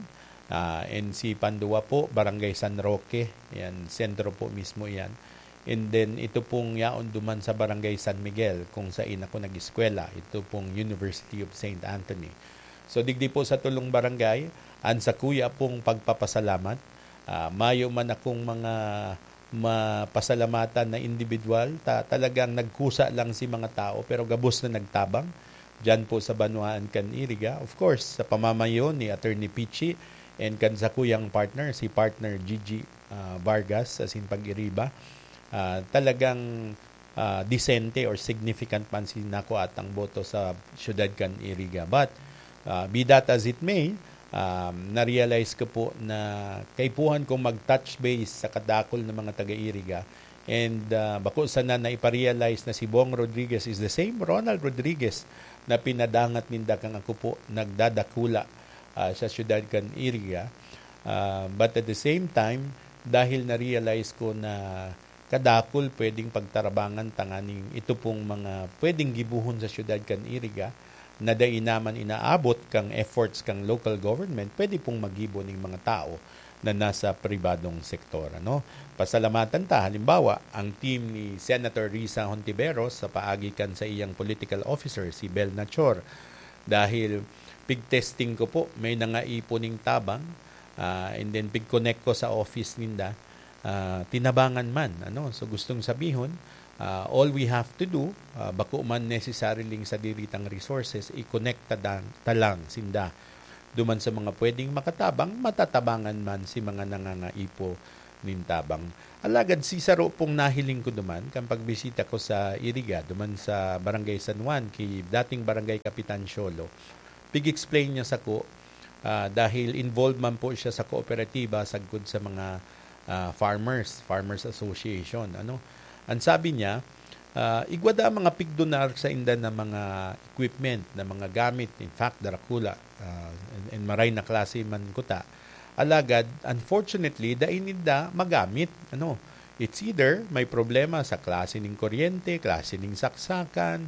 ah, and si panduwa po, Barangay San Roque. Yan, sentro po mismo yan. And then, ito pong yaon duman sa Barangay San Miguel, kung sain ako nag-eskwela. Ito pong University of Saint Anthony. So, digdi po sa tulong barangay, an sakuya pong pagpapasalamat. Ah, mayo man akong mga mapasalamatan na indibidwal, ta-, talagang nagkusa lang si mga tao, pero gabos na nagtabang diyan po sa banwaan kan Iriga. Of course, sa pamamayo ni Attorney Pichi and kan sakuyang partner, si Partner Gigi, ah, Vargas, asin pag-iriba, ah, talagang, ah, disente or significant man si nakuatang boto sa siyudad kan Iriga. But, ah, be that as it may, um, na-realize ko po na kaipuhan kong mag-touch base sa kadakul na mga taga-Iriga. And, ah, bako sana na ipa-realize na si Bong Rodriguez is the same Ronald Rodriguez na pinadangat ninda kang ako po nagdadakula, ah, sa siyudad kan Iriga. Ah, but at the same time, dahil na-realize ko na kadakul pwedeng pagtarabangan tanganing ito pong mga pwedeng gibohon sa siyudad kan Iriga na dai naman inaabot kang efforts kang local government, pwede pong magibo ning mga tao na nasa pribadong sektor, ano? Pasalamatan ta, halimbawa, ang team ni Senator Risa Hontiveros sa paagi kan saiyang political officer, si Bel Nachor, dahil pig-testing ko po, may nangaipon ning tabang, ah, and then pig-connect ko sa office ninda, ah, tinabangan man, ano? So, gustong sabihon, ah, all we have to do, ah, bako man necessarily sadiri tang resources, i-connect ta dan-, ta lang sinda duman sa mga pwedeng makatabang, matatabangan man si mga nangangaipo nin tabang. Alagad si saro pong nahiling ko duman kan pagbisita ko sa Iriga, duman sa Barangay San Juan, ki dating Barangay Kapitan Siolo. Pig-explain niya sako, ah, dahil involved man po siya sa kooperatiba sagkod sa mga, ah, farmers, Farmers Association, ano. Ang sabi niya, ah, igwa daa mga pigdonar sainda na mga equipment, na mga gamit, in fact, darakula, ah, and, and maray na klase man kuta. Alagad, unfortunately, dai ninda magamit, ano. It's either may problema sa klase ning kuryente, klase ning saksakan,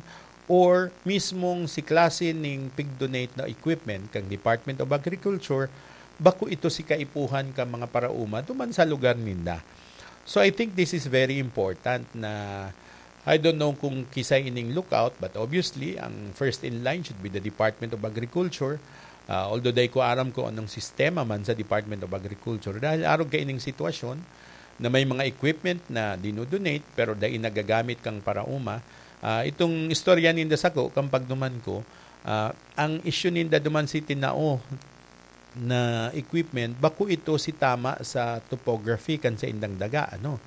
or mismong si klase ning pig-donate na equipment kan Department of Agriculture, bako ito si kaipuhan kan mga paraoma duman sa lugar ninda. So, I think this is very important na, I don't know kung kisay ining lookout, but obviously, ang first in line should be the Department of Agriculture. Ah, although dai ko aram kung anong sistema man sa Department of Agriculture, dahil arog kaining sitwasyon na may mga equipment na dino-donate pero dai nagagamit kan paraoma. Ah, itong istorya ninda sako, kan pagduman ko, ah, ang issue ninda duman si tinao na equipment, bako ito si tama sa topography kan saindang daga, ano.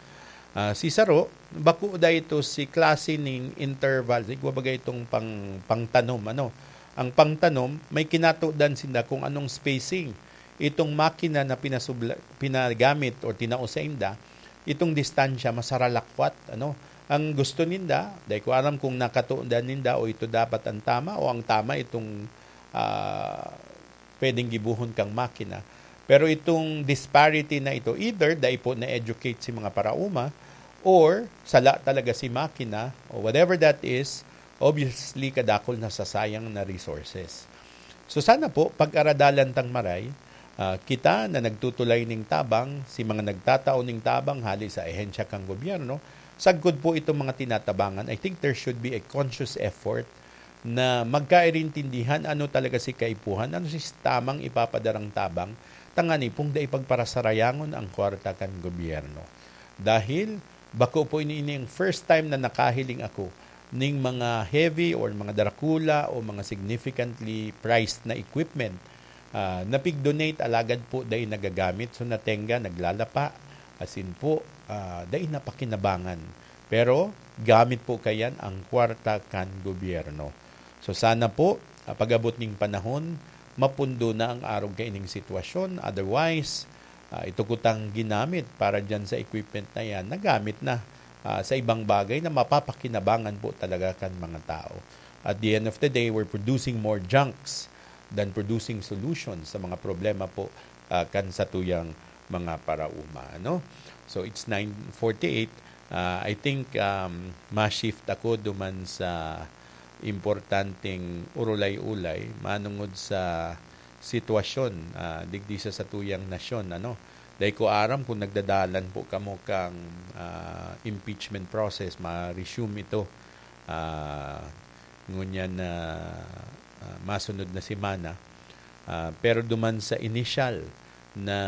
Ah, si saro, bako daa ito si klase ning interval, igwa baga itong pang-, pangtanom, ano. Ang pangtanom, may kinatodan sinda kung anong spacing itong makina na pinasubla-, pinagamit or tinao sainda, itong distansya masaralakwat, ano. Ang gusto ninda, dai ko aram kung nakatodan ninda o ito dapat ang tama o ang tama itong, ah, pwedeng gibohon kan makina. Pero itong disparity na ito, either dai po na-educate si mga paraoma or sala talaga si makina o whatever that is, obviously kadakul nasasayang na resources. So sana po, pag-aradalan tang maray, ah, kita na nagtutulay ning tabang, si mga nagtatao ning tabang hali sa ahensya kan gobyerno, sagkod po itong mga tinatabangan, I think there should be a conscious effort na magkairintindihan ano talaga si kaipuhan, ano si tamang ipapadarang tabang, tanganing pong dai pagparasarayangon ang kwarta kan gobyerno. Dahil bako po ini, ini ang first time na nakahiling ako ning mga heavy or mga darakula o mga significantly priced na equipment, ah, na pig-donate alagad po dai nagagamit. So, natenga, naglalapa, asin po, ah, dai napakinabangan. Pero gamit po kayan ang kwarta kan gobyerno. So, sana po, ah, pag-abot ning panahon, mapundo na ang arog kaining sitwasyon. Otherwise, ah, ito kutang ginamit para dyan sa equipment na yan, nagamit na, ah, sa ibang bagay na mapapakinabangan po talaga kan mga tao. At the end of the day, we're producing more junks than producing solutions sa mga problema po, ah, kan satuyang mga paraoma, ano? So, it's nine forty-eight. Ah, I think, um, ma-shift ako duman sa importanteng urulay-ulay manungod sa sitwasyon, ah, digdi sa satuyang nasyon, ano. Dai ko aram kung nagdadalan po kamo kang, ah, impeachment process, ma-resume ito, ah, ngunyan na, ah, masunod na semana. Ah, pero duman sa initial na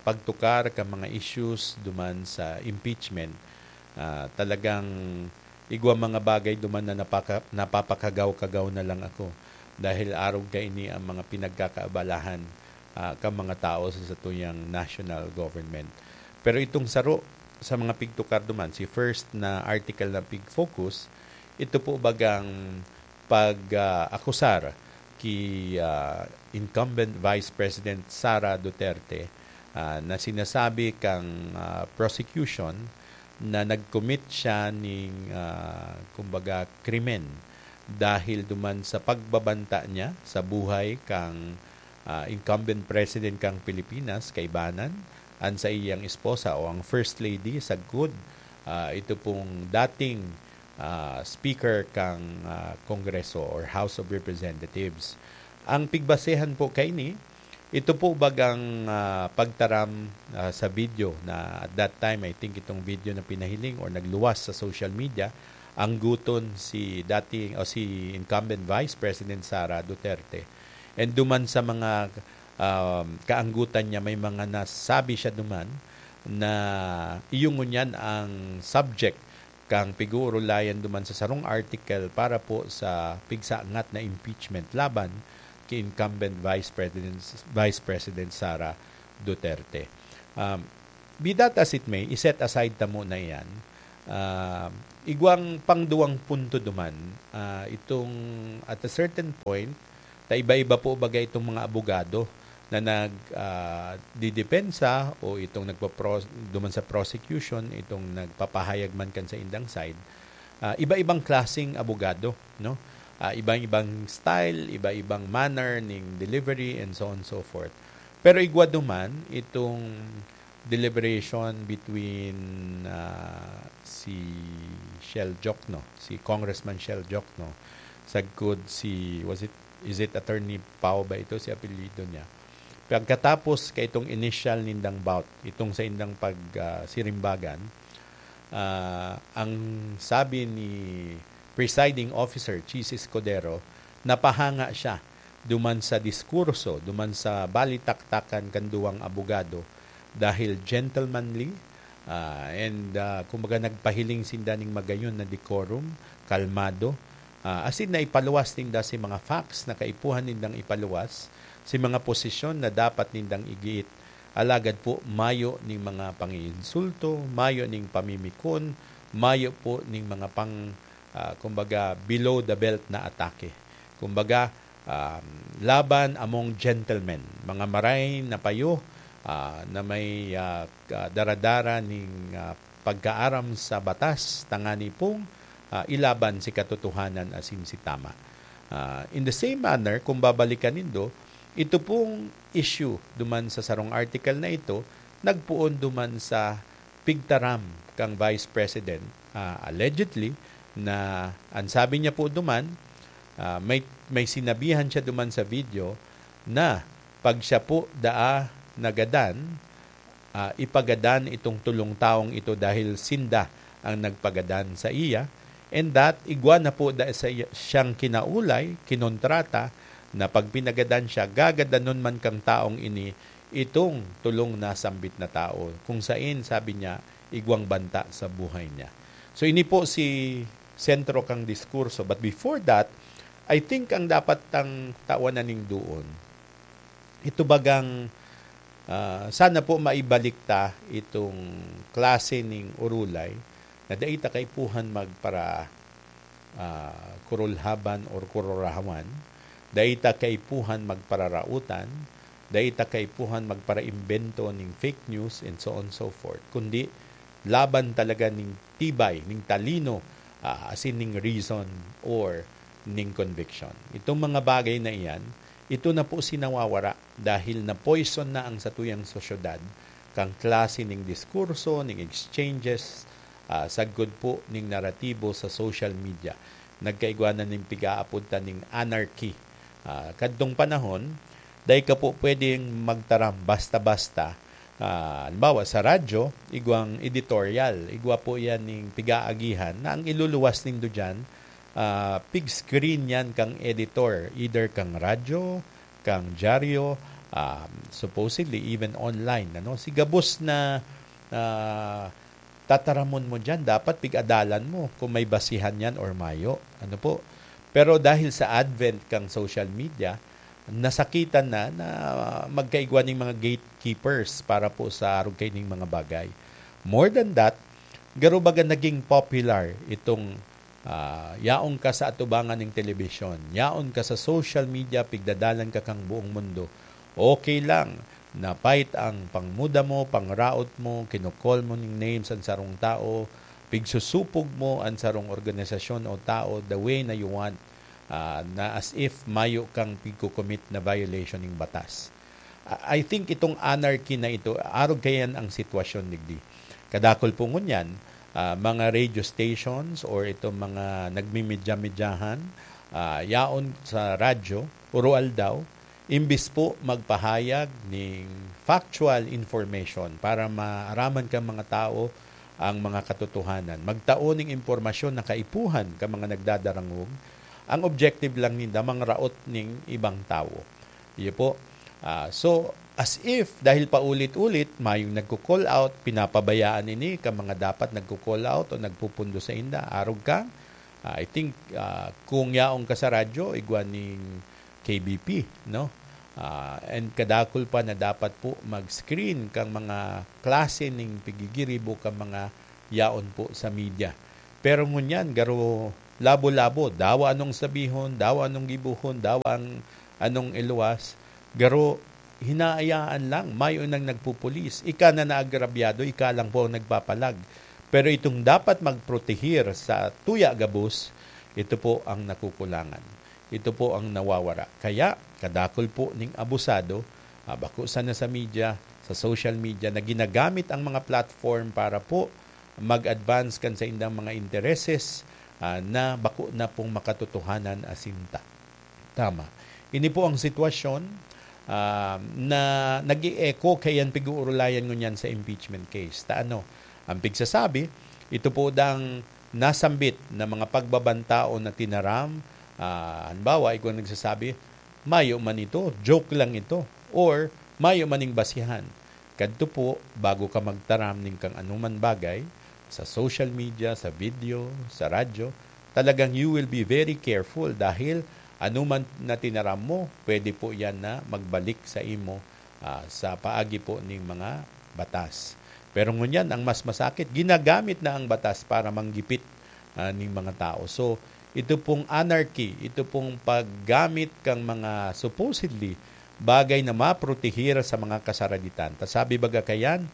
pagtukar kan mga issues duman sa impeachment, ah, talagang igwa mga bagay duman na napaka-, napapakagaw-kagaw na lang ako dahil arog kaini ang mga pinagkakaabalahan, ah, kan mga tao sa satuyang national government. Pero itong saro sa mga pigtukar duman, si first na article na pig-focus, ito po bagang pag, ah, akusar ki, ah, incumbent Vice President Sara Duterte, ah, na sinasabi kang, ah, prosecution na nag-commit siya ning, ah, kumbaga, krimen dahil duman sa pagbabanta niya sa buhay kang, ah, incumbent president kang Pilipinas, kaibanan, an saiyang esposa o ang First Lady, sagkod, ah, ito pong dating, ah, Speaker kang, ah, Kongreso or House of Representatives. Ang pigbasehan po kaini, Ito po bagang, ah, pagtaram, ah, sa video na at that time, I think itong video na pinahiling or nagluwas sa social media, angguton si dating o si incumbent Vice President Sara Duterte. And duman sa mga, um, kaanggutan niya, may mga nasabi siya duman na iyo ngunyan ang subject kang pig-uurulayan duman sa sarong article para po sa pigsangat na impeachment laban ki incumbent Vice President, Vice President Sara Duterte. Um, be that as it may, i-set aside ta muna iyan. Um, igwang pangduwang punto duman, ah, itong at a certain point, ta iba-iba po baga itong mga abogado na nag, ah, didepensa o itong nagpapro-, duman sa prosecution, itong nagpapahayag man kan sa indang side, ah, iba-ibang klaseng abogado, no? Ah, ibang-ibang style, iba-ibang manner ning delivery, and so on and so forth. Pero igwa duman, itong deliberation between, ah, si Shell Jokno, si Congressman Shell Jokno, sagkod si, was it, is it Attorney Pao ba ito, si apelyido niya? Pagkatapos ka itong initial nindang bout, itong sa indang pag, ah, sirimbagan, ah, ang sabi ni Presiding Officer Chiz Escudero, napahanga siya duman sa diskurso, duman sa balitaktakan kan duwang abogado, dahil gentlemanly, ah, and, ah, kumbaga, nagpahiling sinda ning magayon na decorum, kalmado, ah, asin naipaluwas ninda si mga facts na kaipuhan nindang ipaluwas, si mga posisyon na dapat nindang igiit. Alagad po, mayo ning mga pangiinsulto, mayo ning pamimikon, mayo po ning mga pang, ah, kumbaga, below the belt na atake. Kumbaga, um, laban among gentlemen, mga maray na payo, ah, na may, ah, ka-, daradara ning, ah, pagkaaram sa batas, tangani pong, ah, ilaban si katotohanan asin si tama. Ah, in the same manner, kung babalikan nindo, ito pong issue duman sa sarong article na ito, nagpoon duman sa pigtaram kang Vice President, ah, allegedly, na ang sabi niya po duman, ah, may, may sinabihan siya duman sa video na pag siya po daa nagadan, ah, ipagadan itong tolong tawong ito dahil sinda ang nagpagadan sa iya, and that igwa na po da-, sa iya, siyang kinaulay, kinontrata, na pag pinagadan siya, gagadanon man kang taong ini itong tolong nasambit na tao, kung sain, sabi niya, igwang banta sa buhay niya. So, ini po si sentro kang diskurso. But before that, I think ang dapat tang tawanan ning duon, ito bagang, ah, sana po maibalik ta itong klase ning urulay na dai ta kaipuhan magpara-, ah, kurulhaban or kururahawan, dai ta kaipuhan magpararautan, dai ta kaipuhan magparaimbento ning fake news, and so on and so forth, kundi laban talaga ning tibay, ning talino, ah, asin ning reason or ning conviction. Itong mga bagay na iyan, ito na po si nawawara dahil na-poison na ang satuyang sosyedad, kang klase ning diskurso, ning exchanges, ah, sagkod po ning naratibo sa social media. Nagkaigwa na ning pigaapod ta ning anarchy. Ah, kadtong panahon, dai ka po pwedeng magtaram basta-basta. Ah, halimbawa, sa radyo, igwang editorial, igwa po yan ning pigaagihan na ang iluluwas nindo diyan, ah, pig-screen yan kang editor, either kang radyo, kang dyaryo, ah, supposedly even online, ano? Si gabos na, ah, tataramon mo diyan, dapat pig-adalan mo kung may basihan yan or mayo. Ano po? Pero dahil sa advent kang social media, nasakitan na, na magkaigwa ning mga gatekeepers para po sa arog kaining mga bagay. More than that, garo baga naging popular itong, ah, yaon ka sa atubangan ning telebisyon, yaon ka sa social media, pigdadalan ka kang buong mundo. Okay lang, na pait ang pangmuda mo, pangraot mo, kinokol mo ning names an sarong tao, pigsusupog mo an sarong organisasyon o tao the way na you want, ah, na as if mayo kang pigko-commit na violation ning batas. Ah, I think itong anarchy na ito, arog kaiyan ang sitwasyon digdi. Kadakul po ngunyan, ah, mga radio stations or itong mga nagmimidya-midyahan, ah, yaon sa radyo, uro-aldaw, imbis po magpahayag ning factual information para maaraman kan mga tao ang mga katotohanan, magtao ning impormasyon na kaipuhan kan mga nagdadarangog, ang objective lang ninda mangraot ning ibang tawo. Iyo po. Ah, so, as if, dahil paulit-ulit, mayong nagko-call out, pinapabayaan ini kan mga dapat nagko-call out o nagpupundo sainda. Arog ka, ah, I think, ah, kung yaon ka sa radyo, igwa ning K B P, no? Ah, and kadakul pa na dapat po mag-screen kang mga klase ning pigigiribo kan mga yaon po sa media. Pero ngunyan, garo labo-labo, dawa anong sabihon, dawa anong gibohon, dawa ang anong iluwas, garo hinahayaan lang, mayo nang nagpupulis. Ika na naagrabyado, ika lang po ang nagpapalag. Pero itong dapat magprotehir sa tuya gabos, ito po ang nakukulangan. Ito po ang nawawara. Kaya, kadakul po ning abusado, ah, bako sana sa media, sa social media, na ginagamit ang mga platform para po mag-advance kan saindang mga intereses, ah, na bako na pong makatotohanan asin ta-, tama. Ini po ang sitwasyon, ah, na nag-e-echo kaiyan pig-uurulayan ngunyan sa impeachment case. Ta ano, ang pigsasabi, ito po dang nasambit na mga pagbabantaon na tinaram, ah, halimbawa, igwa nagsasabi, "Mayo man ito, joke lang ito," or "Mayo man ning basihan." Kadto po, bago ka magtaram nin kang anuman bagay, sa social media, sa video, sa radyo, talagang you will be very careful dahil anuman na tinaram mo, pwede po yan na magbalik sa imo, ah, sa paagi po ning mga batas. Pero ngunyan, ang mas masakit, ginagamit na ang batas para manggipit, ah, ning mga tao. So, ito pong anarchy, ito pong paggamit kang mga supposedly bagay na maprotehir sa mga kasaraditan. Ta sabi baga kayan,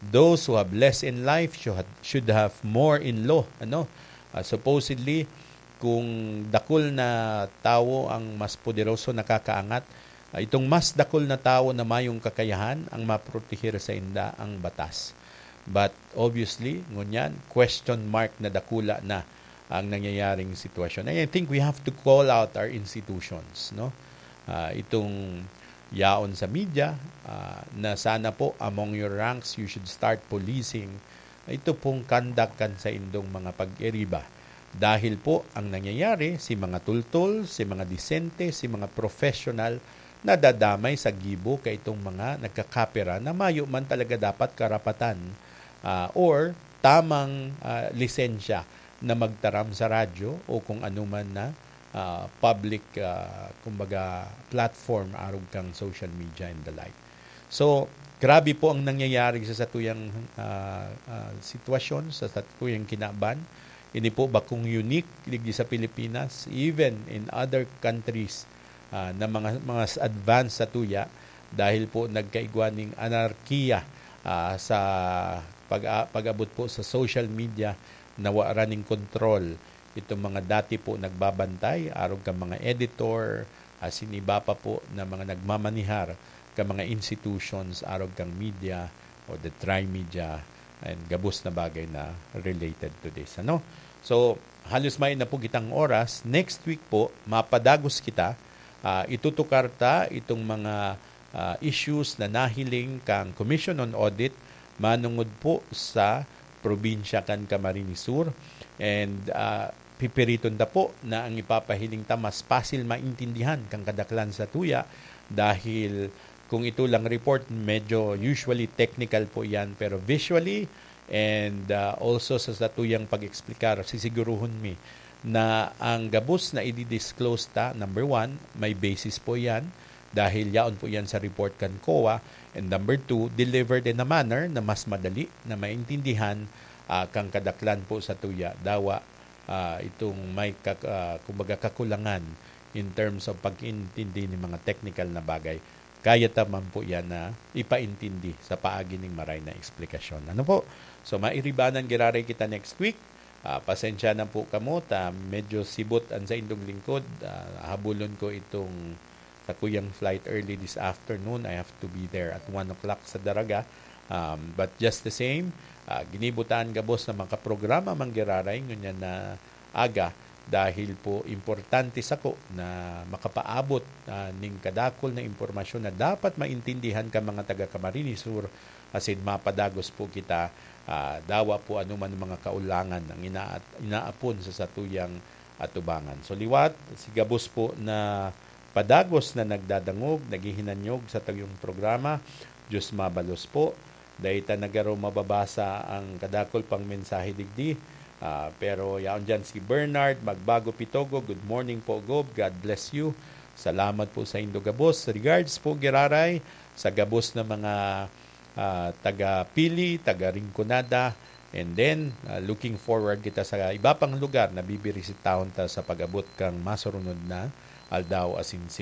"Those who have less in life should, should have more in law." Ano? Ah, supposedly, kung dakul na tawo ang mas poderoso nakakaangat, ah, itong mas dakul na tawo na mayong kakayahan ang maprotehir sainda ang batas. But obviously, ngunyan, question mark na dakula na ang nangyayaring sitwasyon. And I think we have to call out our institutions, no? Ah, itong yaon sa media, ah, na sana po among your ranks, you should start policing ito pong conduct kan saindong mga pag-iriba. Dahil po ang nangyayari, si mga tultol, si mga disente, si mga professional, nadadamay sa gibo kaitong mga nagkakapera na mayo man talaga dapat karapatan, ah, or tamang, ah, lisensya na magtaram sa radyo o kung anuman na, ah, public, ah, kumbaga, platform arog kang social media and the like. So, grabe po ang nangyayari sa satuyang, ah, ah, sitwasyon, sa satuyang kinaban. Ini po bakong unique digdi sa Pilipinas, even in other countries, ah, na mga, mga s-, advanced sa tuya, dahil po nagkaigwa ning anarkiya, ah, sa pag-, pag-abot po sa social media, na wara ning kontrol itong mga dati po nagbabantay, arog kan mga editor, asin iba pa po na mga nagmamanihar kan mga institutions, arog kang media o the tri-media, and gabos na bagay na related to this, ano? So, halos mayo na po kitang oras. Next week po, mapadagos kita. Ah, itutukar ta itong mga, ah, issues na nahiling kang Commission on Audit manungod po sa probinsya kan Camarines Sur. And, ah, pipiriton ta po na ang ipapahiling ta mas pasil maintindihan kan kadaklan sa tuya dahil kung ito lang report, medyo usually technical po yan, pero visually and, ah, also sa satuyang pag-eksplikar, sisiguruhon mi na ang gabos na i-disclose ta, number one, may basis po yan dahil yaon po yan sa report kan COA, and number two, delivered in a manner na mas madali na maintindihan, ah, kang kadaklan po sa tuya. Dawa, ah, itong may kak-, ah, kumbaga, kakulangan in terms of pag-intindi nin mga technical na bagay. Kaya ta man po yan na ipaintindi sa paagi ning maray na eksplikasyon. Ano po? So, mairibanan giraray kita next week. Ah, pasensya na po kamo ta medyo sibot an saindong lingkod. Ah, habulon ko itong sakuyang flight early this afternoon. I have to be there at one o'clock sa Daraga. Um, but just the same, ah, ginibo ta an gabos na makaprograma man giraray ngunyan na aga dahil po importante sako na makapaabot, ah, ning kadakul na impormasyon na dapat maintindihan kan mga taga Camarines Sur, asin mapadagos po kita, ah, dawa po anoman mga kaulangan ang ina-, inaapon sa satuyang atubangan. So, liwat, si gabos po na padagos na nagdadangog, naghihinanyog sa tuyong programa, Diyos mabalos po. Dai ta na garo mababasa ang kadakul pang mensahe digdi. Ah, pero yaon diyan si Bernard Magbago Pitogo. "Good morning po, Gob. God bless you. Salamat po saindo gabos. Regards po, giraray, sa gabos na mga, ah, taga Pili, taga Rinconada. And then, ah, looking forward kita sa iba pang lugar na bibirisitahon ta sa pag-abot kang masurunod na aldaw asin